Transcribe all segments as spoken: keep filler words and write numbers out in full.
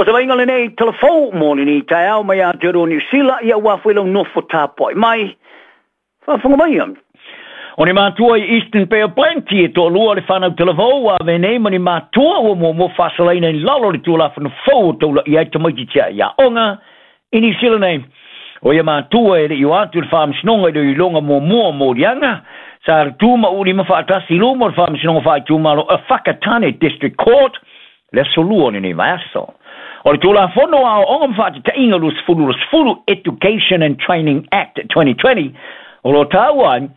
O se vaaiga lenei talavou mo lenei taeao mai Aotearoa Niu Sila, ia ua foi lau nofo tapuai mai, faafofoga maia. O ni matua i Eastern Bay of Plenty e toalua le fanau talavou ua avea nei ma ni matua ua muamua faasalaina i lalo o le Tulafono fou o taulaia ai tamaiti tiai aoga i Niu Sila nei. O ia matua e le i o atu i le faamasinoga i le iloiloga muamua o moliaga sa tu ma ulima faatasi i luma o le faamasinoga faaitumalo a Whakatane District Court le aso lua o lenei vaiaso. O le Tulafono o Aoaoga ma Faatataiga Luasefulu Luasefulu, Education and Training Act twenty twenty, o lo o taua ai,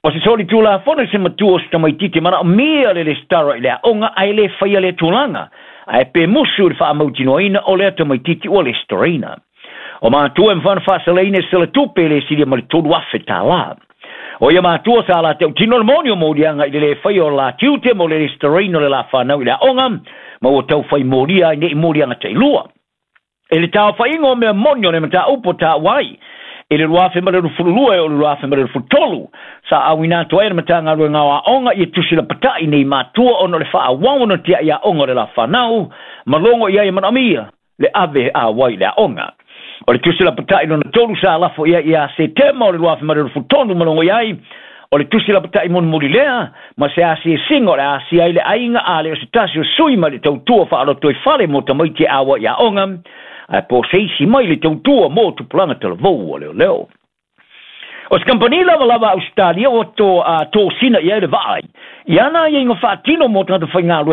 o se solitulafono i se matua o se tamaitiiti e manaomia le resitala i le aoga ae le faia lea tulaga, ae pe musu i le faamautinoaina o lea tamaitiiti ua resitalaina. O matua e mafai ona faasalaina i se selatupe e le silia ma le tolu afe tālā. O ia matua sa la tautino le moni o moliaga i le le faia o la tiute mo le resitalaina o le la whanau i le aoga, ma ua tau whai molia ai nei moliaga tailua. E le taofaiga o mea moni o le mataupu taua ai, i le luafe ma le lufululua e o le luafe ma le lufutolu, sa auina atu ai le Matagaluega o Aoga i e tusi lapatai nei matua ona o le faaauau ona tiai aoga o le la whanau, ma logo i ai e manaomia le ave a wai le aoga. O le tusi lapatai lona tolu sa lafo ia ia Setema o le luafe ma le lufutolu ma logo i ai, o le tusi lapatai mulimuli lea, ma se asiasiga o le asia ai le aiga a le o se tasi o sui ma le tautua faaloto i fale mo tamaiti e aua i aoga, ae po se isi mai le tautua mo tupulaga talavou o leoleo. O se kampani lava lava Australia ua to, uh, tosina i ai le vaai, i ana aiaiga faatino mo tagata faigaluega.